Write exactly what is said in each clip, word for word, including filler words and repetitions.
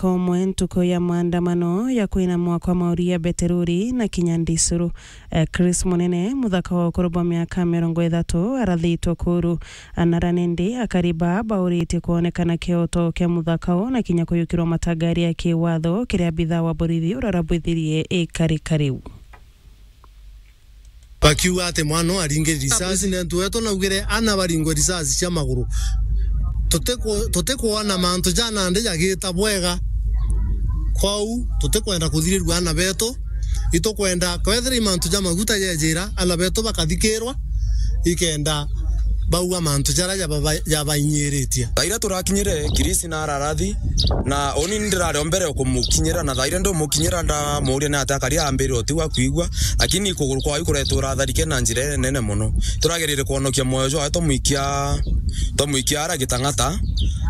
Komwe ntuku ya maandamano ya kwina mwaka wa mauri ya Beteruri na kinya Ndisuru. Eh, Chris Munene, muthaka wa ukuru bwa miaka mirongo ithatu, arathitwe kuru. Anara nindi akari ba bauritie kwonekana kioto kia muthaka u na kinya kuyukirwa matagari ya kiwatho kiria abitha wa borithi urarabwithirie ikarika riu. Bakiuga ati mwana uyu aringe risasi, nentu wetu naugire ana baringwe risasi cia maguru. Tutiku-, tutikwona mantu ja nandi jagita bwega. Kwou tutikwenda kuthirirua ana betu, itukwenda kwethira i mantu ja maguta jejira ana betu bakathikirwa, ikenda bauga mantu jaria jababa-, jabainyiritie. Thaa iria turakinyire, Kirisi na ararathi, na uni ndirari o mbere kumukinyira, na thaa iria ndumukinyira ndamuuria ni atia akari, ambire uti gwa kwigua, lakini kuguru kwawe kuretwe uratharike na njira inene mono. Turagerire kwonokia mwoyo jwawe, twamwikia, twamwikia ara Gitang'ata,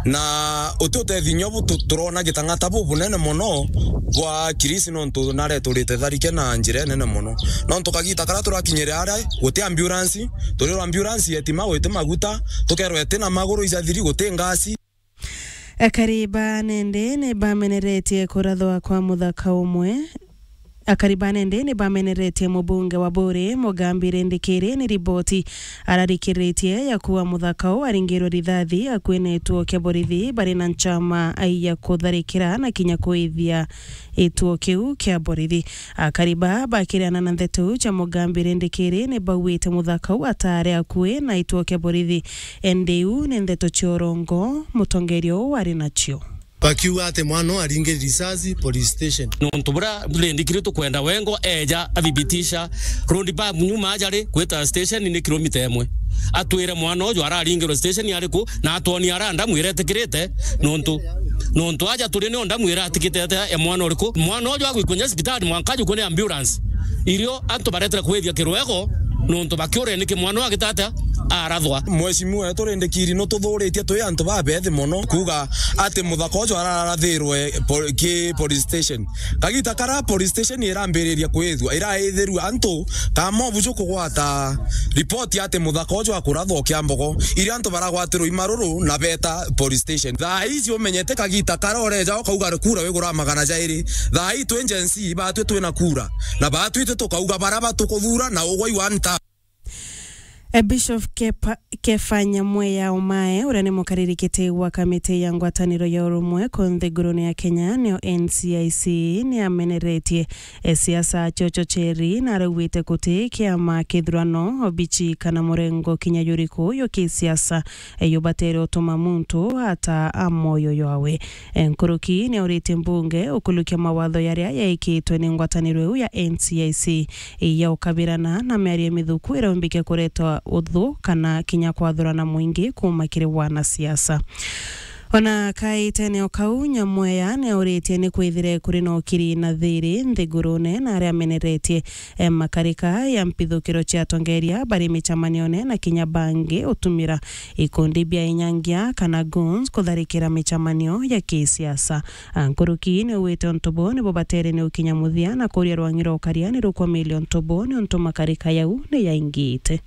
na uti utethio inya bu tu-, turona Gitang'ata bubunene mono bwa Kirisi, nontu nareturite tharike na njira inene mono. Nontu kagita karia turakinyire aria, guti ambulance, turirwa ambulance yetima gwiti maguta, tukerwa iti na maguru ijathiri, guti ngasi. Akari ba nende ni bameneretie kurathwa kwa muthaka umwe. Akari ba nende ni bameneretie mubunge wa Buri, Mugambi Rindikiri, ni riboti ararikiritie ya kuwa muthaka u aringirwe rithathi akui na ituo kia borithi bari na nchama ya kutharikira na kinya kuithia ituo kiu kia borithi. Akari ba bakiriana na ndeto iu cia Mugambi Rindikiri ni bauite muthaka u atare akui na ituo kia borithi. Indi iu ni ndeto cia urongo mutongeria uu ari nacio. Bakiuga ati mwana uyu aringire risasi police station. Nontu buria Rindikiri tukwenda wengo eja athibitisha road map nyuma aja ri gwita station ni kilomita imwe. Atwire mwana uju araringirwe station ariku, na atwonie ara ndamu iria itikirite, nontu, nontu aja turi nio ndamu iratikite atia ya mwana uriku. Mwana uju agwikwa nya cibitari mwanka ajukwe ni ambulance. Irio antu baretera kwithia kirwego, nontu bakiura niki mwana uyu agita atia arathwa. Mheshimiwa wetu Rindikiri, nututhuritie twi antu babethi mono, kuuga ati muthaka uju ararathirwe po-, ki police station. Kagita kara police station irambiriria kwithua, iraithirua antu kama ubuju kugwata ripoti ati muthaka uju akurathwa ukiambogo, iria antu baragwatirwa i maruru na beta police station. Thaa ici umenyete kagita kara ureja ukauga kura wigura magana jairi. Thaa ii twi Gen Z, batwi twina kura, na batwi twi tukauga bara batukuthura na ugwa i one term. E, Bishop Kepa-, Kefa Nyamweya Omae, uria ni mukariri kiti wa kamiti ya ngwataniro ya urumwe ku nthigurune ya Kenya, niyo N C I C, ni ameneretie e siasa cia uchocheri na araugite guti kiama, kithurano, obichi kana murengo kinya juriku jwa kisiasa e, jubatere utuma muntu ata a mwoyo jwawe. E, nkuruki ni auritie mbunge ukulukia mawatho jaria jaikitwe ni ngwataniro iu ya N C I C ya ukabirana na miario mithuku iria umbike kureta uthu kana kinya kwathurana mwingi kuuma kiri wanasiasa. Ona kaitene o kau, Nyamweya ni auritie ni kwithire kuri na ukiri na thiri nthigurune, na aria ameneretie e, makarika ya mpithukiro cia atongeria bari micemanione na kinya bangi utumira ikundi bia inyangia kana goons kutharikira micemanio ya kisiasa. A, nkuruki ni augite untu buu nibo batere ni ukinya muthia na kuria rwang'i rwa ukaria ni rukwamiria untu buu niuntu makarika jau ni yaingite.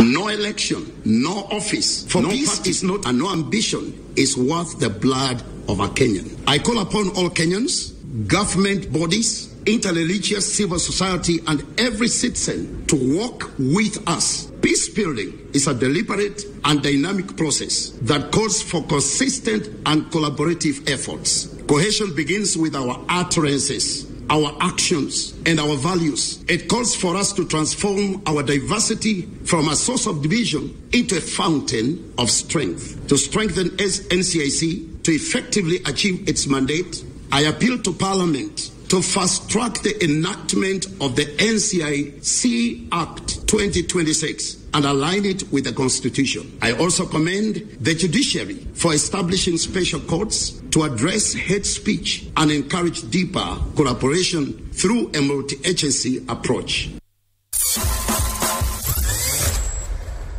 No election, no office, for no peace party is not, and no ambition is worth the blood of a Kenyan. I call upon all Kenyans, government bodies, interreligious civil society, and every citizen to work with us. Peace building is a deliberate and dynamic process that calls for consistent and collaborative efforts. Cohesion begins with our utterances, our actions, and our values. It calls for us to transform our diversity from a source of division into a fountain of strength. To strengthen N C I C to effectively achieve its mandate, I appeal to Parliament to fast-track the enactment of the N C I C Act twenty twenty-six and align it with the Constitution. I also commend the judiciary for establishing special courts to address hate speech and encourage deeper collaboration through a multi-agency approach.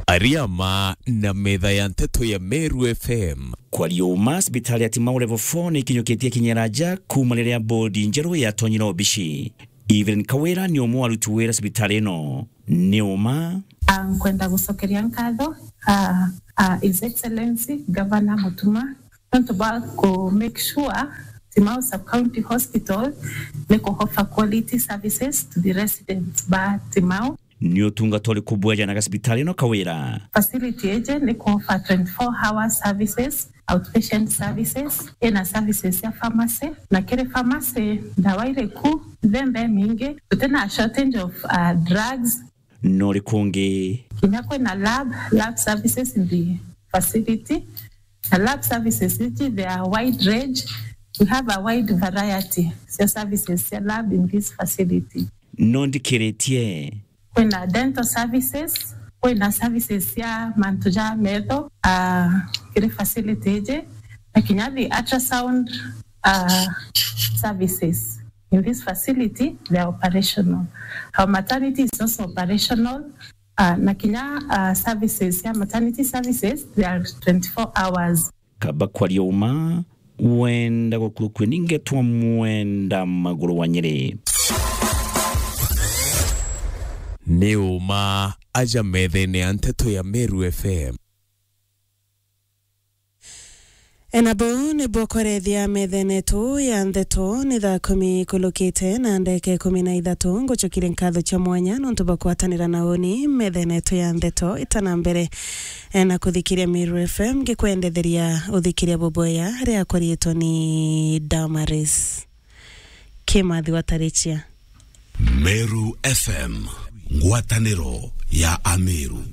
Ariama na metha ya nteto ya Meru F M. Kwaria uma, cibitari ya Timau Level four ni ikinyukitie kinyera nja kuuma riria bodi njeru yatonyire obici. Evelyn Kawira ni umwe wa aruti wira cibitari ino. Ni uma. Ah, nkwenda gucokeria nkatho, ah, ah, His Excellency Governor Mutuma Nontu bwa ku make sure Timau Sub-County Hospital ni ku offer quality services to the residents ba Timau. Ni utungata uriku bwejana na cibitari ino, Kawira? Facility iji ni ku offer twenty-four hour services, outpatient services, ina services cia pharmacy, na kiri pharmacy ndawa iriku, mithemba imingi, gutina shortage of uh, drugs. No uriku ungi? Kinya kwina lab, lab services in the facility. Na lab services iji, they are wide range. We have a wide variety cia services cia lab in this facility. No ndikiritie? Kwina dental services, kwina services cia mantu ja metho, uh, kiri facility iji, na kinya the ultrasound uh, services in this facility, they are operational. Our maternity is also operational, uh, na kinya uh, services cia maternity services, they are twenty-four hours. Kaba kwaria uma, wenda gukurukue ningetwa Mwenda Maguru wa Nyeri. Ni uma aja methene ya nteto ya Meru F M. Ena buu nibwo kwarethia methene yetu ya nteto. Ni thaa kumi kulukite na ndeke kumi na ithatu. Ngucokeria nkatho cia mwanya nontu bwa kwatanira na uni methene yetu ya nteto. Itana mbere, e, na kuthikiria Meru F M, ngikwendetheria uthikiria bubwea riakwa riitwa ni Damaris Kimathi wa Tarichia. Meru F M, ngwataniro ya Ameru.